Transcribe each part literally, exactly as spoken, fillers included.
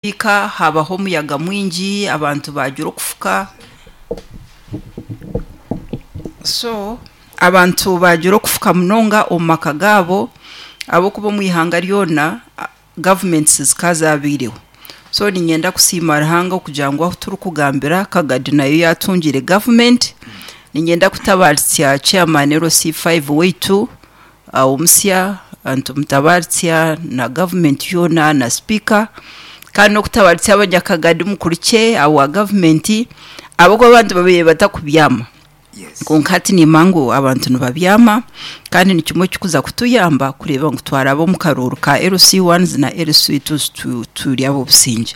Ika habaho omuyaga mwingi, abantu bagira okufuka. So abantu bagira okufuka munonga omu maka gaabo ahabw'okuba omu ihanga ryona gavumenti zikaba zaabaireho. So niinyenda kusiima Ruhanga okugira ngu ahu turikugambira Kagadi nayo yaatungire gavumenti. Niinyenda kutabaaritsya chairman L C five waitu omusya, nitumutabaaritsya na gavumenti yoona na sipiika, kandi n'okutabaaritsya abanyakagadi mukurukye awa gavumenti ahabw'okuba abantu babaire batakubyama. Kwonka hati niimanya ngu abantu nibabyama kandi ni kimwe ekirikuza kutuyamba kureeba ngu twaraba omu karuuru ka L C one na L C two turi ab'obusingye.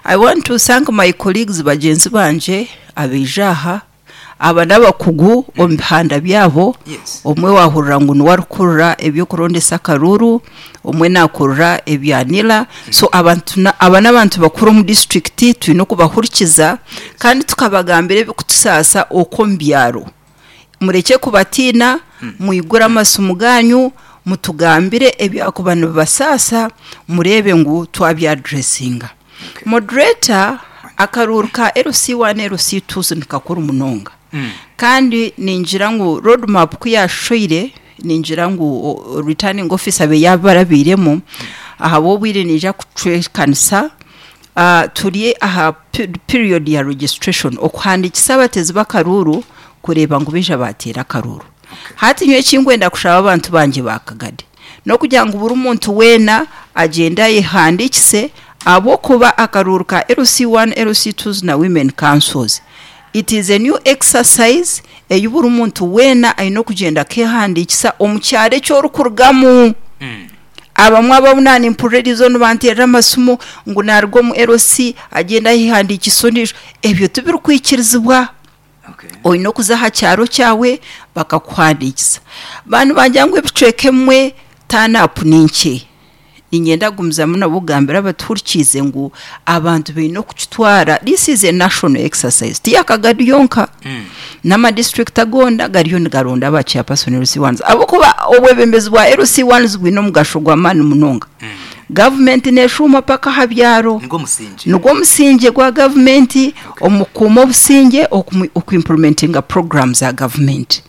I want to thank my colleagues bagyenzi bangye abaija aha, aba n'abakugu omu bihanda byabo, omwe waahurira ngu niwe arikukurira eby'okurondesa akaruuru, omwe naakurira ebya NIRA, so abantu aba n'abantu bakuru omu disiturikiti twine okubahurikiza kandi tukabagambira ebirikutusaasa okwo omu byaro. Murekye kubatiina, mwigure amasimu gaanyu, mutugambire ebyakuba nibibasaasa, mureebe ngu twabyaduresinga. Moderator, akaruuru ka L C one, L C two nikakuru munonga kandi ningira ngu road map ku yaashoire, ningira ngu returning officer abe yaabarabiiremu, ahabw'obwire niija kucwekanisa, turi aha period ya registration, okuhandiikisa abateezi b'akaruuru kureeba ngu baija baateera akaruuru. Hati nyowe ekinkwenda kushaba abantu bangye ba Kagadi n'okugira ngu buri muntu weena agyende ayehandiikise ahabw'okuba akaruuru ka L C one, L C two na women councils it is a new exercise ei buri muntu weena aine okugyenda akeehandiikisa omu kyaro eki orikurugamu. Abamwe abu naanimpurira eriizooba nibanteerera amasimu ngu naaruga omu L C agyende ayehandiikise ondiijo, ebyo tibirikwikirizibwa. Oine okuza aha kyaro kyawe bakakuhandiikisa. Baanibangira ngu ebicweka ebimwe turn up ni nkye. Niinyenda kugumizamu nabo kugambira abatuhurikiize ngu abantu baine okukitwara, this is a national exercise, ti ya Kagadi yonka, n'amadistrict agoona gariyo nigaronda aba chairperson L C ones ahabw'okuba obwebembezi bwa L C ones bwine omugasho gw'amaani munonga. Gavumenti neeshuuma paka aha byaro. Nigwo musingye. Nigwo musingye gwa gavumenti omu kukuuma obusingye, okuimplementinga program za gavumenti.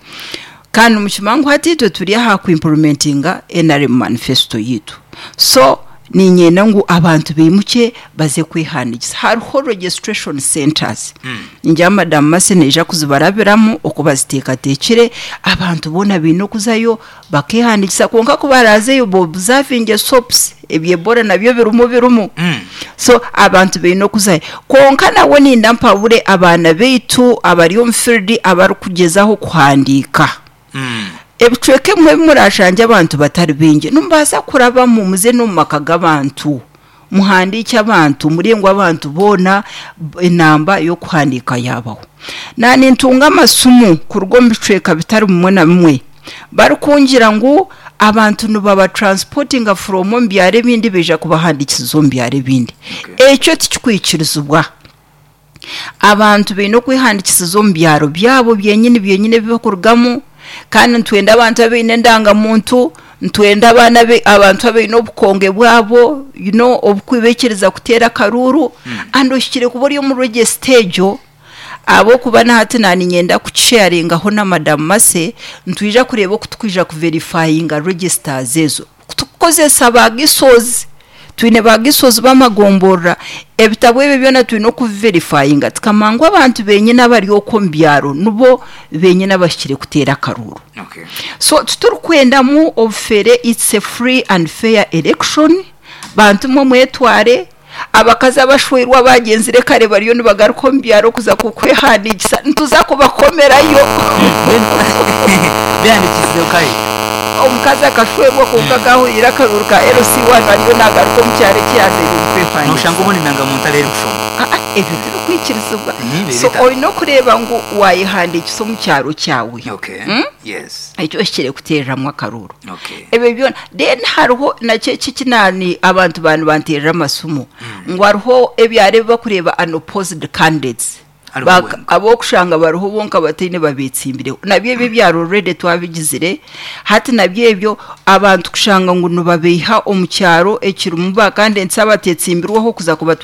Kandi nimukimanya ngu hati itwe turi aha kuimplementinga N R M manifesto yaitu. So niinyenda ngu abantu baimukye baze kwehandiikisa. Hariho registration centers. Ningira Madam Mercy naija kuzibarabiramu oku baziteekateekire, abantu boona baine okuzayo bakeehandiikisa kwonka ku baraazeyo bobuzavinge soaps, eby'Ebola nabyo birimu birimu. So abantu baine okuzayo. Kwonka nabwo ninda mpabure abaana baitu abari omu field abarikugyezaho kuhandiika. Ebicweka ebimwe ebi murashangye abantu batari baingi, nimubaasa kurabamu muze n'omu maka g'abantu, muhandiike abantu, murebe ngu abantu boona enamba y'okuhandiika yaabaho. Naanintunga amasimu kuruga omu bicweka bitari bimwe na bimwe barikungira ngu abantu nibabatransportinga from omu byaro ebindi baija kubahandiikisiza omu byaro ebindi. Ekyo tikikwikirizibwa. Abantu baine okwehandiikisiza omu byaro byabo byenyini byenyini ebi barikurugamu kandi nitwenda abantu abaine endangamuntu, nitwenda abaana abantu abaine obukonge bwabo you know oburikubaikiriza kuteera akaruuru and ohikire kuba ori omu register egyo ahabw'okuba na hati naaniinyenda kukisharingaho na Madam Mercy, nitwija kureeba oku turikwija kuverifyinga registers ezo. Tukukozesa ba G S Os, twine ba G S Os b'amagomborora, ebitabo ebyo byona twine okubiverifyinga tukamanya ngu abantu benyini abari okwo omu byaro nibo benyini abahikire kuteera akaruuru. Okay. So titurikwendamu obufere, it's a free and fair election, bantu mwe mwetware, abakazi abashweirwe abagyenzire kare bariyo nibagaruka omu byaro kuza kwehandiikisa, nituza kubakomerayo. Beehandiikisize kare. Omukazi akashwerwa kwonka akahurira akaruuru ka L C one ariyo naagaruka omu kyaro eki yazaire kwehandiikisa. Noshanga obundi endangamuntu ariyo erikushoma. Ah, ah, ebyo tibikwikirizibwa. Mhm, So bita. oine okureeba ngu waayehandiikisa omu kyaro kyawe. Okay. Mm? Yes. Ekyo ohikire kuteereramu akaruuru. Okay. Ebyo byona then hariho nakyo eki ekinani abantu baani banteerera amasimu ngu hariho ebyaro ebi bakureeba unopposed candidates. Hariho Baka- wenka. Ab'okushanga bariho bonka bataine babetsimbireho. Nabyo ebyo ebyaro already twabigizire. Hati nabyo ebyo abantu kushanga ngu nibabeiha omu kyaro ekirimu ba kandi ensi abatetsimbirweho kuza kubatwara.